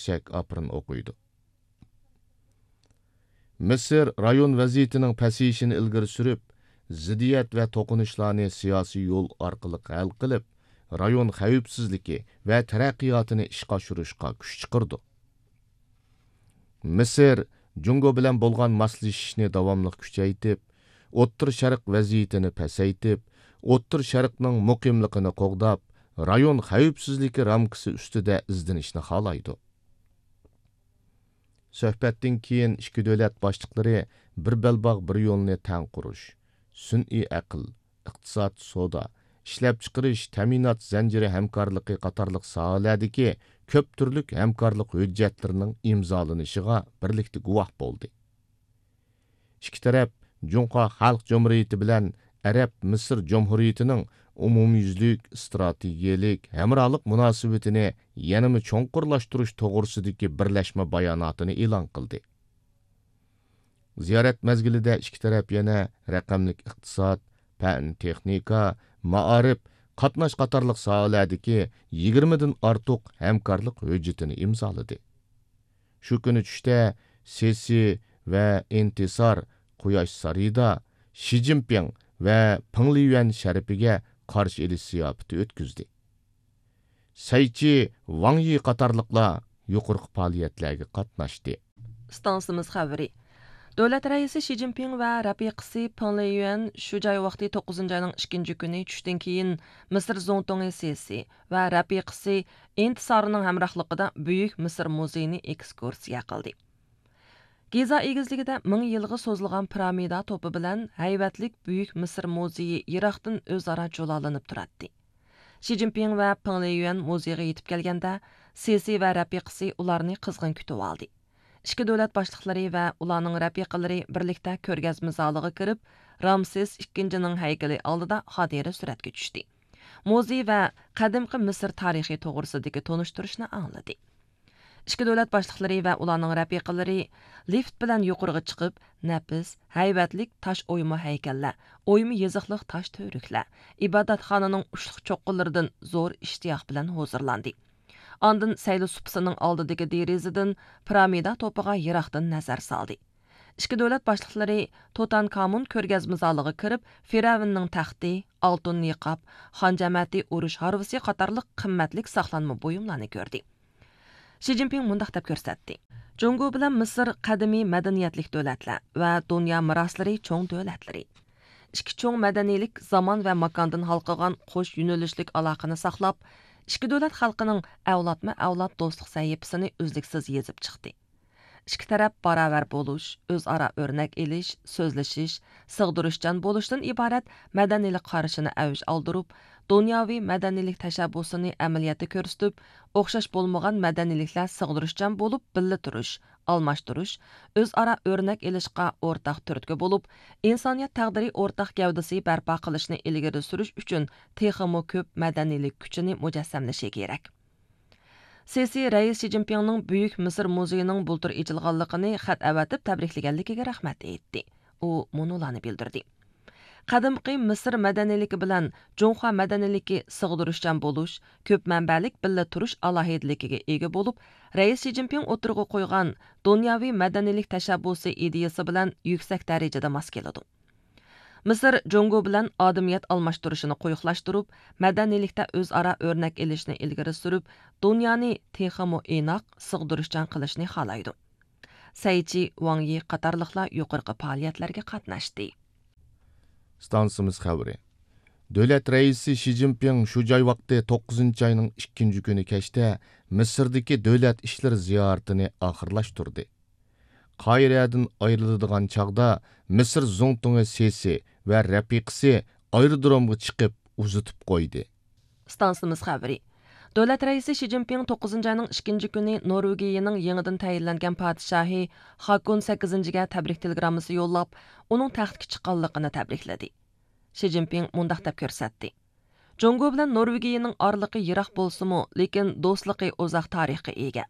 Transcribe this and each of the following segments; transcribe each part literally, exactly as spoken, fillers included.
چەك ئاپىرىن ئوقۇيدۇ. مىسىر رايون ۋەزىيىتىنىڭ پەسىيىشىنى ئىلگىرى سۈرۈپ، زىددىيەت ۋە توقۇنۇشلارنى سىياسىي يول ئارقىلىق ھەل قىلىپ، رايون خەۋپسىزلىكى ۋە تەرەققىياتىنى ئىشقا ئاشۇرۇشقا كۈچ چىقىرىدۇ. مىسىر جۇڭگو بىلەن بولغان ماسلىشىشنى داۋاملىق كۈچەيتىپ، ئوتتۇرا شەرق ۋەزىيىتىنى پەسەيتىپ، ئوتتۇرا شەرقنىڭ مۇقىملىقىنى قوغداپ، رايون خەۋپسىزلىكى رامكىسى ئۈستىدە ئىزدىنىشنى خالايدۇ. سۆھبەتتىن كېيىن ئىككى دۆلەت باشلىقلىرى بىر بەلباغ، بىر يولنى تەڭ قۇرۇش، سۈنئىي ئەقىل، ئىقتىساد، سودا، ئىشلەپچىقىرىش، تەمىنات زەنجىرى ھەمكارلىقى قاتارلىق ساھەلەردىكى كۆپ تۈرلۈك ھەمكارلىق ھۆججەتلىرىنىڭ ئىمزالىنىشىغا بىرلىكتە گۇۋاھ بولدى. ئىككى تەرەپ جۇڭخۇا خەلق جۇمھۇرىيىتى بىلەن ئەرەب مىسىر جۇمھۇرىيىتىنىڭ ئومۇميۈزلۈك ئىستراتېگىيەلىك ھەمراھلىق مۇناسىۋىتىنى يەنىمۇ چوڭقۇرلاشتۇرۇش توغرىسىدىكى بىرلەشمە باياناتىنى ئېلان قىلدى. زىيارەت مەزگىلىدە ئىككى تەرەپ يەنە رەقەملىك ئىقتىساد، پەن، تېخنىكا، مائارىپ، قاتناش قاتارلىق ساھەلەردىكى يىگىرمىدىن ئارتۇق ھەمكارلىق ھۆججىتىنى ئىمزالىدى. شۇ كۈنى چۈشتە سېسى ۋە ئىنتىسار قۇياش سارىيىدا شى جىنپىڭ ۋە پېڭ لىيۈەن شەرىپىگە قارشى ئېلىش زىياپىتى ئۆتكۈزدى. سەيچى ۋاڭ يى قاتارلىقلار يۇقىرىقى پائالىيەتلەرگە قاتناشتى. ئىستانسىمىز خەۋىرى. دۆلەت رەئىسى شى جىنپىڭ ۋە رەپىقىسى پېڭ لىيۈەن شۇ جاي ۋاقتى توققۇزىنچى ئاينىڭ ئىككىنچى كۈنى چۈشتىن كېيىن مىسىر زۇڭتۇڭى سېسى ۋە رەپىقىسى ئىنتىسارنىڭ ھەمراھلىقىدا بۈيۈك مىسىر مۇزېيىنى ئېكسكۇرسىيە قىلدى. گىزا ئېگىزلىكىدە مىڭ يىلغا سوزۇلغان پىرامىدا توپى بىلەن ھەيۋەتلىك بۈيۈك مىسىر مۇزېيى يىراقتىن ئۆزئارا جۇلالىنىپ تۇراتتى. شى جىنپىڭ ۋە پېڭ لىيۈەن مۇزېيغا يېتىپ كەلگەندە، سېسى ۋە رەپىقىسى ئۇلارنى قىزغىن كۈتۈۋالدى. ئىككى دۆلەت باشلىقلىرى ۋە ئۇلارنىڭ رەپىقىلىرى بىرلىكتە كۆرگەزمە زالىغا كىرىپ، رامسېس ئىككىنچىنىڭ ھەيكىلى ئالدىدا خاتىرە سۈرەتكە چۈشتى. مۇزېي ۋە قەدىمكى مىسىر تارىخى توغرىسىدىكى تونۇشتۇرۇشنى ئاڭلىدى. ئىككى دۆلەت باشلىقلىرى ۋە ئۇلارنىڭ رەپىقىلىرى لىفت بىلەن يۇقىرىغا چىقىپ، نەپىس، ھەيۋەتلىك تاش ئويما ھەيكەللەر، ئويما يېزىقلىق تاش تۈۋرۈكلەر، ئىبادەتخانىنىڭ ئۇچلۇق چوققىلىرىدىن زور ئىشتىياق بىلەن ھۇزۇرلاندى. ئاندىن سەيلە سۇپىسىنىڭ ئالدىدىكى دېرىزىدىن پىرامىدا توپىغا يىراقتىن نەزەر سالدى. ئىككى دۆلەت باشلىقلىرى توتانكامون كۆرگەزمە زالىغا كىرىپ، فىرئەۋننىڭ تەختى، ئالتۇن نىقاب، خان جەمەتى ئۇرۇش ھارۋىسى قاتارلىق قىممەتلىك ساقلانما بۇيۇملارنى كۆردى. شى جىنپىڭ مۇنداق دەپ كۆرسەتتى: جۇڭگو بىلەن مىسىر قەدىمىي مەدەنىيەتلىك دۆلەتلەر ۋە دۇنيا مىراسلىرى چوڭ دۆلەتلىرى. ئىككى چوڭ مەدەنىيلىك زامان ۋە ماكاندىن ھالقىغان قوش يۆنىلىشلىك ئالاقىنى ساقلاپ، ئىككى دۆلەت خەلقىنىڭ ئەۋلادمۇ ئەۋلاد دوستلۇق سەھىپىسىنى ئۈزلۈكسىز يېزىپ چىقتى. ئىككى تەرەپ باراۋەر بولۇش، ئۆزئارا ئۆرنەك ئېلىش، سۆزلىشىش، سىغدۇرۇشچان بولۇشتىن ئىبارەت مەدەنىيلىك قارىشىنى ئەۋج ئالدۇرۇپ، دۇنياۋى مەدەنىيلىك تەشەببۇسىنى ئەمەلىيەتتە كۆرسىتىپ، ئوخشاش بولمىغان مەدەنىيلىكلەر سىغدۇرۇشچان بولۇپ بىللە تۇرۇش، ئالماشتۇرۇش، ئۆزئارا ئۆرنەك ئېلىشقا ئورتاق تۈرتكە بولۇپ، ئىنسانىيەت تەقدىرى ئورتاق گەۋدىسى بەرپا قىلىشنى ئىلگىرى سۈرۈش ئۈچۈن تېخىمۇ كۆپ مەدەنىيلىك كۈچىنى مۇجەسسەملىشى كېرەك. سىسى رەئىس شى جىنپىڭنىڭ بۈيۈك مىسىر مۇزېيىنىڭ بۇلتۇر ئېچىلغانلىقىنى خەت ئەۋەتىپ تەبرىكلىگەنلىكىگە رەھمەت ئېيتتى. ئۇ مۇنۇلارنى بىلدۈردى: قەدىمكى مىسىر مەدەنىيلىكى بىلەن جۇڭخۇا مەدەنىيلىكى سىغدۇرۇشچان بولۇش، كۆپ مەنبەلىك بىللە تۇرۇش ئالاھىدىلىكىگە ئىگە بولۇپ، رەئىس شى جىنپىڭ ئوتتۇرىغا قويغان دۇنياۋى مەدەنىيلىك تەشەببۇسى ئىدىيىسى بىلەن يۈكسەك دەرىجىدە ماس كېلىدۇ. مىسىر جۇڭگو بىلەن ئادىمىيەت ئالماشتۇرۇشىنى قويۇقلاشتۇرۇپ، مەدەنىيلىكتە ئۆزئارا ئۆرنەك ئېلىشنى ئىلگىرى سۈرۈپ، دۇنيانى تېخىمۇ ئىناق، سىغدۇرۇشچان قىلىشنى خالايدۇ. سەيچى، ۋاڭ يى قاتارلىقلار يۇقىرىقى پائالىيەتلەرگە قاتناشتى. ئىستانسىمىز خەۋىرى. دۆلەت رەئىسى شى جىنپىڭ شۇ جاي ۋاقتى توققۇزىنچى ئاينىڭ ئىككىنچى كۈنى كەچتە مىسىردىكى دۆلەت ئىشلىرى زىيارىتىنى ئاخىرلاشتۇردى. قاھىرەدىن ئايرىلىدىغان چاغدا مىسىر زۇڭتۇڭى سىسى ۋە رەپىقىسى ئايرودرومغا چىقىپ ئۇزىتىپ قويدى. ئىستانسىمىز خەۋىرى. دۆلەت رەئىسى شى جىنپىڭ توققۇزىنچى ئاينىڭ ئىككىنچى كۈنى نورۋېگىيىنىڭ يېڭىدىن تەيىنلەنگەن پادىشاھى خاكون سەككىزىنچىگە تەبرىك تېلېگراممىسى يوللاپ، ئۇنىڭ تەختكە چىققانلىقىنى تەبرىكلىدى. شى جىنپىڭ مۇنداق دەپ كۆرسەتتى: جۇڭگو بىلەن نورۋېگىيىنىڭ ئارىلىقى يىراق بولسىمۇ، لېكىن دوستلۇقى ئۇزاق تارىخقا ئىگە.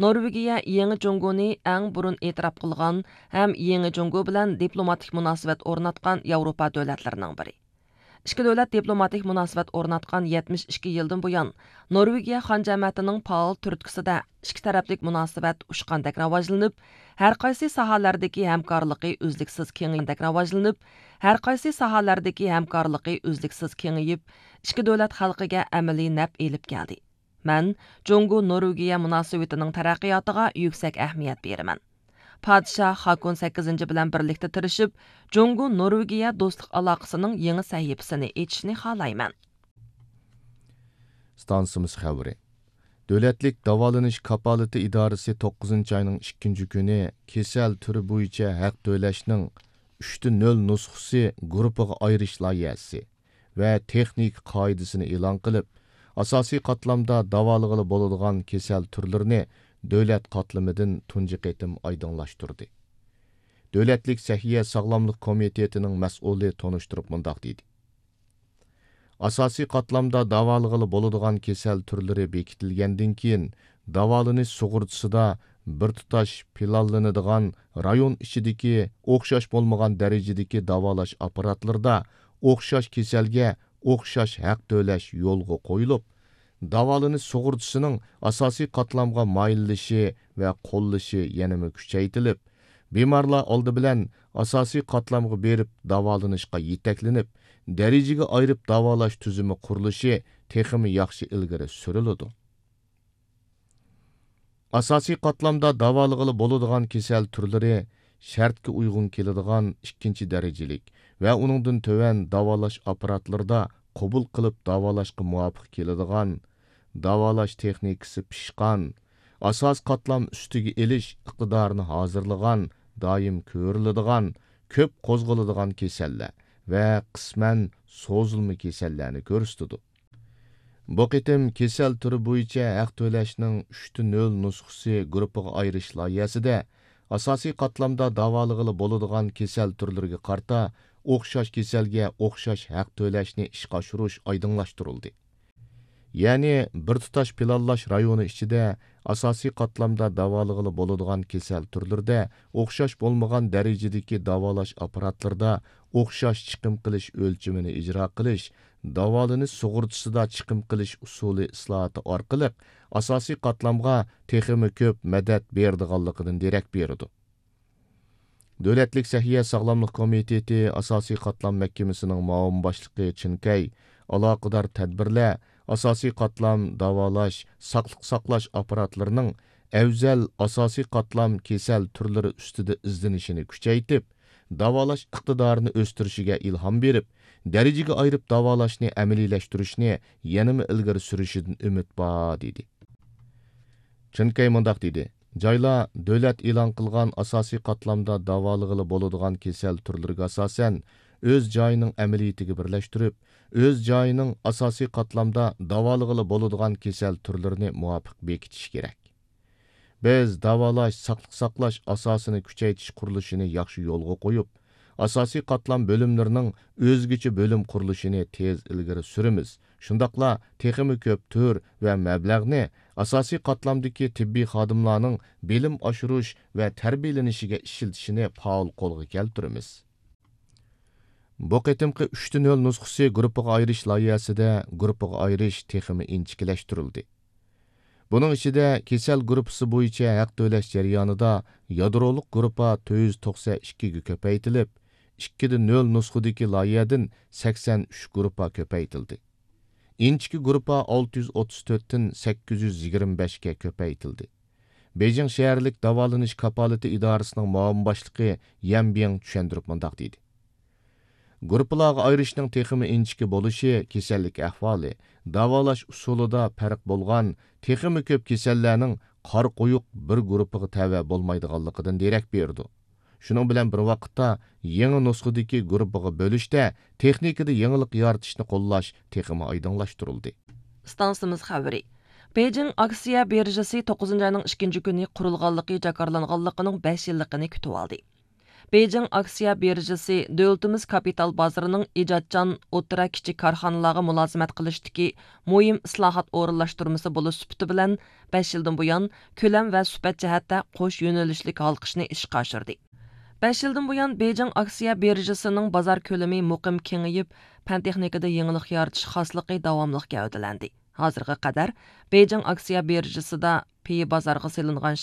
نورۋېگىيە يېڭى جۇڭگونى ئەڭ بۇرۇن ئېتىراپ قىلغان ھەم يېڭى جۇڭگو بىلەن دىپلوماتىك مۇناسىۋەت ئورناتقان ياۋروپا دۆلەتلىرىنىڭ بىرى. ئىككى دۆلەت دىپلوماتىك مۇناسىۋەت ئورناتقان يەتمىش ئىككى يىلدىن بۇيان، نورۋېگىيە خان جەمەتىنىڭ پائال تۈرتكىسىدە ئىككى تەرەپلىك مۇناسىۋەت ئۇچقاندەك راۋاجلىنىپ، ھەر قايسى ساھەلەردىكى ھەمكارلىقى ئۈزلۈكسىز كېڭىيىپ، ھەر قايسى ساھەلەردىكى ھەمكارلىقى ئۈزلۈكسىز كېڭىيىپ، ئىككى دۆلەت خەلقىگە ئەمەلىي نەپ ئېلىپ كەلدى. مەن جۇڭگو نورۋېگىيە مۇناسىۋىتىنىڭ تەرەققىياتىغا يۈكسەك ئەھمىيەت بېرىمەن. پادىشاھ خاكون سەككىزىنچى بىلەن بىرلىكتە تىرىشىپ، جۇڭگو نورۋېگىيە دوستلۇق ئالاقىسىنىڭ يېڭى سەھىپىسىنى ئېچىشنى خالايمەن. ستانسىمىز خەۋىرى. دۆلەتلىك داۋالىنىش كاپالىتى ئىدارىسى توققۇزىنچى ئاينىڭ ئىككىنچى كۈنى كېسەل تۈرى بويىچە ھەق تۆلەشنىڭ ئۈچتە نۆل نۇسخىسى گۇرۇپپىغا ئايرىش لايىھەسى ۋە تېخنىكا قائىدىسىنى ئېلان قىلىپ، ئاساسىي قاتلامدا داۋالىغىلى بولىدىغان كېسەل تۈرلىرىنى دۆلەت قاتلىمىدىن تۇنجى قېتىم ئايدىڭلاشتۇردى. دۆلەتلىك سەھىيە ساغلاملىق كومىتېتىنىڭ مەسئۇلى تونۇشتۇرۇپ مۇنداق دېدى: ئاساسىي قاتلامدا داۋالىغىلى بولىدىغان كېسەل تۈرلىرى بېكىتىلگەندىن كېيىن، داۋالىنىش سۇغۇرتىسىدا بىر تۇتاش پىلانلىنىدىغان رايون ئىچىدىكى ئوخشاش بولمىغان دەرىجىدىكى داۋالاش ئاپپاراتلىرىدا ئوخشاش كېسەلگە ئوخشاش ھەق تۆلەش يولغا قويۇلۇپ، داۋالىنىش سۇغۇرتىسىنىڭ ئاساسىي قاتلامغا مايىللىشى ۋە قوللىشى يەنىمۇ كۈچەيتىلىپ، بىمارلار ئالدى بىلەن ئاساسىي قاتلامغا بېرىپ داۋالىنىشقا يېتەكلىنىپ، دەرىجىگە ئايرىپ داۋالاش تۈزۈمى قۇرۇلۇشى تېخىمۇ ياخشى ئىلگىرى سۈرۈلىدۇ. ئاساسىي قاتلامدا داۋالىغىلى بولىدىغان كېسەل تۈرلىرى شەرتكە ئۇيغۇن كېلىدىغان ئىككىنچى دەرىجىلىك ۋە ئۇنىڭدىن تۆۋەن داۋالاش ئاپپاراتلىرىدا قوبۇل قىلىپ داۋالاشقا مۇۋاپىق كېلىدىغان، داۋالاش تېخنىكىسى پىشقان، ئاساسىي قاتلام ئۈستىگە ئېلىش ئىقتىدارىنى ھازىرلىغان، دائىم كۆرۈلىدىغان، كۆپ قوزغىلىدىغان كېسەللەر ۋە قىسمەن سوزۇلما كېسەللەرنى كۆرسىتىدۇ. بۇ قېتىم كېسەل تۈرى بويىچە ھەق تۆلەشنىڭ ئۈچتە نۆل نۇسخىسى گۇرۇپپىغا ئايرىش لايىھەسىدە ئاساسىي قاتلامدا داۋالىغىلى بولىدىغان كېسەل تۈرلىرىگە قارىتا ئوخشاش كېسەلگە ئوخشاش ھەق تۆلەشنى ئىشقا ئاشۇرۇش ئايدىڭلاشتۇرۇلدى. يەنى بىر تۇتاش پىلانلاش رايونى ئىچىدە ئاساسىي قاتلامدا داۋالىغىلى بولىدىغان كېسەل تۈرلىرىدە ئوخشاش بولمىغان دەرىجىدىكى داۋالاش ئاپپاراتلىرىدا ئوخشاش چىقىم قىلىش ئۆلچىمىنى ئىجرا قىلىش، داۋالىنىش سۇغۇرتىسىدا چىقىم قىلىش ئۇسۇلى ئىسلاھاتى ئارقىلىق ئاساسىي قاتلامغا تېخىمۇ كۆپ مەدەت بېرىدىغانلىقىدىن دېرەك بېرىدۇ. دۆلەتلىك سەھىيە ساغلاملىق كومىتېتى ئاساسىي قاتلام مەھكىمىسىنىڭ مۇئاۋىن باشلىقى چىن كەي ئالاقىدار تەدبىرلەر، ئاساسىي قاتلام داۋالاش، ساقلىق ساقلاش ئاپپاراتلىرىنىڭ ئەۋزەل ئاساسىي قاتلام كېسەل تۈرلىرى ئۈستىدە ئىزدىنىشىنى كۈچەيتىپ، داۋالاش ئىقتىدارىنى ئۆستۈرۈشىگە ئىلھام بېرىپ، دەرىجىگە ئايرىپ داۋالاشنى ئەمەلىيلەشتۈرۈشنى يەنىمۇ ئىلگىرى سۈرۈشىدىن ئۈمىد بار، دېدى. چىن كەي مۇنداق دېدى: جايلار دۆلەت ئېلان قىلغان ئاساسىي قاتلامدا داۋالىغىلى بولىدىغان كېسەل تۈرلىرىگە ئاساسەن، ئۆز جايىنىڭ ئەمەلىيىتىگە بىرلەشتۈرۈپ، ئۆز جايىنىڭ ئاساسىي قاتلامدا داۋالىغىلى بولىدىغان كېسەل تۈرلىرىنى مۇۋاپىق بېكىتىشى كېرەك. بىز داۋالاش، ساقلىق ساقلاش ئاساسىنى كۈچەيتىش قۇرۇلۇشىنى ياخشى يولغا قويۇپ، ئاساسىي قاتلام بۆلۈملىرىنىڭ ئۆزگىچە بۆلۈم قۇرۇلۇشىنى تېز ئىلگىرى سۈرىمىز. شۇنداقلا تېخىمۇ كۆپ تۈر ۋە مەبلەغنى ئاساسىي قاتلامدىكى تېببىي خادىملارنىڭ بىلىم ئاشۇرۇش ۋە تەربىيەلىنىشىگە ئىشلىتىشنى پائال قولغا كەلتۈرىمىز. بۇ قېتىمقى ئۈچتە نۆل نۇسخىسى گۇرۇپپىغا ئايرىش لايىھەسىدە گۇرۇپپىغا ئايرىش تېخىمۇ ئىنچىكىلەشتۈرۈلدى. بۇنىڭ ئىچىدە كېسەل گۇرۇپپىسى بويىچە ھەق تۆلەش جەريانىدا يادرولۇق گۇرۇپپا تۆت يۈز توقسەن ئىككىگە كۆپەيتىلىپ، ئىككىدە نۆل نۇسخىدىكى لايىھەدىن سەكسەن ئۈچ گۇرۇپپا كۆپەيتىلدى. ئىنچىكە گۇرۇپپا ئالتە يۈز ئوتتۇز تۆتتىن سەككىز يۈز يىگىرمە بەشكە كۆپەيتىلدى. بېيجىڭ شەھەرلىك داۋالىنىش كاپالىتى ئىدارىسىنىڭ مۇئاۋىن باشلىقى يەن بىڭ چۈشەندۈرۈپ مۇنداق دېدى: گۇرۇپپىلارغا ئايرىشنىڭ تېخىمۇ ئىنچىكە بولۇشى كېسەللىك ئەھۋالى، داۋالاش ئۇسۇلىدا پەرق بولغان تېخىمۇ كۆپ كېسەللەرنىڭ قارا قويۇق بىر گۇرۇپپىغا تەۋە بولمايدىغانلىقىدىن دېرەك بېرىدۇ. شۇنىڭ بىلەن بىر ۋاقىتتا، يېڭى نۇسخىدىكى گۇرۇپپىغا بۆلۈشتە تېخنىكىدا يېڭىلىق يارىتىشنى قوللاش تېخىمۇ ئايدىڭلاشتۇرۇلدى. ئىستانسىمىز خەۋىرى. بېيجىڭ ئاكسىيە بىرژىسى توققۇزىنچى ئاينىڭ ئىككىنچى كۈنى قۇرۇلغانلىقى جاكارلانغانلىقىنىڭ بەش يىللىقىنى كۈتۈۋالدى. بېيجىڭ ئاكسىيە بىرژىسى دۆلىتىمىز كاپىتال بازىرىنىڭ ئىجادچان ئوتتۇرا، كىچىك كارخانىلارغا مۇلازىمەت قىلىشتىكى مۇھىم ئىسلاھات ئورۇنلاشتۇرمىسى بولۇش سۈپىتى بىلەن، بەش يىلدىن بۇيان كۆلەم ۋە سۈپەت جەھەتتە قوش يۆنىلىشلىك ھالقىشنى ئىشقا ئاشۇردى. بەش يىلدىن بۇيان، بېيجىڭ ئاكسىيە بىرژىسىنىڭ بازار كۆلىمى مۇقىم كېڭىيىپ، پەن تېخنىكىدا يېڭىلىق يارىتىش خاسلىقى داۋاملىق گەۋدىلەندى. ھازىرغا قەدەر بېيجىڭ ئاكسىيە بىرژىسىدا پېيى بازارغا سېلىنغان